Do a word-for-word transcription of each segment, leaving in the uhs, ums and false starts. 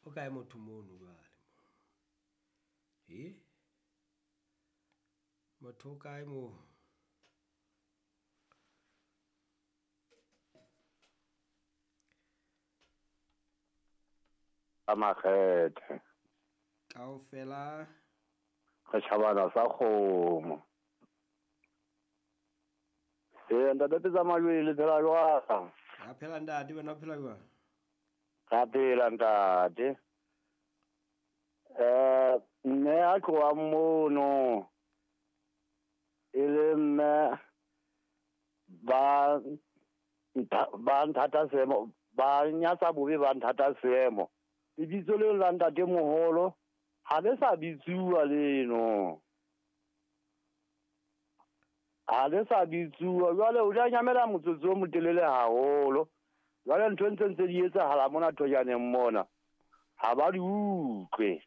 O kae motho mono jwale? Eh? Motho o kae mo? A makgethe. Kaofela re tjhabana sa kgomo. Eh, ntate Pitsa Majweng le phela jwang? Ra phela ntate, wena o phela jwang? Ra phela ntate. Eh, mme a tlohang mono e le mme ba ba nthata seemo, ba nyatsa bobe ba nthata seemo. Lebitso leo la ntate moholo ha le sa bitsuwa leno. Ha le sa bitsuwa jwale o ja nyamela motsotso o motelele haholo. Jwale ntho ntse ntse di etsahala mona thojaneng mona. Ha ba di utlwe.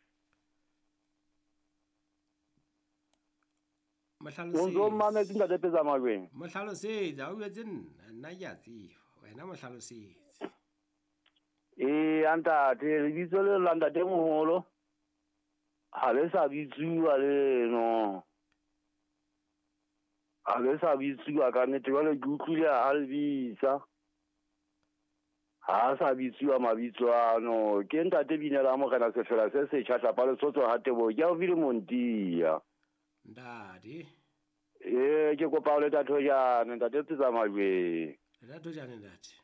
Mohlalosetse. O ntso mametse ntate Pitsa Majweng. Mohlalosetse, ha o jwetse nna, nna ke a tseba. Wena mohlalosetse. Eh, ntate, lebitso leo la ntate moholo ha le sa bitsuwa leno. Ha le sa bitsuwa ka nnete, jwale ke utlwile ha le bitsa. Ha sa bitsuwa mabitso ano. Ke ntate Binela Morena Sefela se setjha tlapa Lesotho ha Teboho. Ke haufi le Montia. Ntate. Eh, ke kopa o le Thojane, ntate Pitsa Majweng. Le Thojane ntate.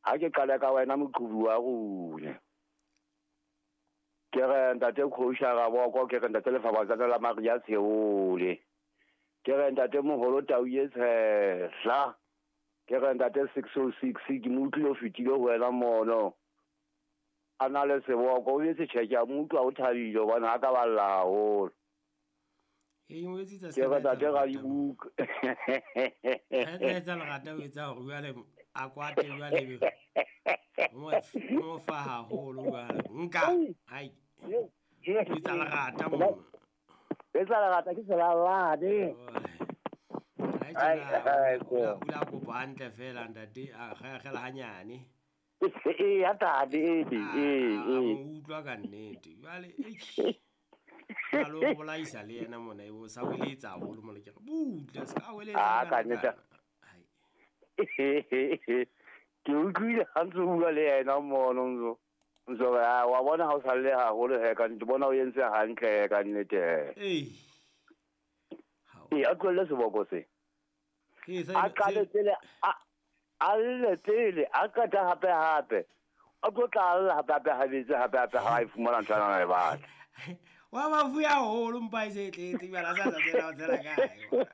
Ha ke qale ka wena moqhubu wa rona. Ke re ntate Khosha Raboko, ke re ntate Lefabatsana la Maria Tsheole. Ke re ntate moholo Tau ye Tshehla. Ke re ntate six oh six ke mo utlwile o fetile ho wena mono. A na le seboko, o etse tjhe ke a mo utlwa o thabile hobane ha ka balla haholo. E mo etsetsa Ke re ntate Radibuka. Ha etsa lerata o etsa hore jwale a kwate jwale be. O mo fa haholo jwale. Nka. Hai. O etsa lerata mo. Etsa lerata ke selalane. Ai o la kopa hantle fela ntate a kgela hanyane. Eh, ya ntate, eh, eh, eh. O utlwa ka nnete. Jwale eh a lo bolaisa le yena mona e bo sa weletsa haholo mona ke re butle se ka weletsa ah ka nnete. Ke utlwile ha ntse bua le yena mono ntso ntso wa bona ha o sa le haholo he ka nnete bona o entse hantle ka nnete. Eh e a tlohelle seboko se a qale pele a a lle pele a qeta hape hape a tlo tla lla hape hape habetse hape hape ha e fumana ntho ana e batla. Wa mafu haholo mpa e se tletse jwale a sa sa tsela o tsela kae.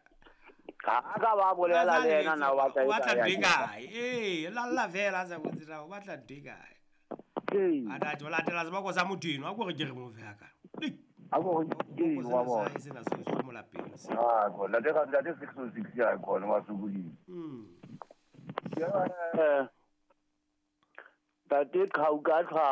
Ha ka ba bolela le yena na o batla o batla ntho e kae? Eh, lalla fela a sa botse na o batla ntho e kae. A ntate o latela seboko sa motho eno a ko re ke re mo fe ka. A ko ke wa bona. Se na se se mo lapeng. Ah, go ntate ka ntate six oh six ya khona wa sokodile. Mm. Ke Tate Khauka tlhwa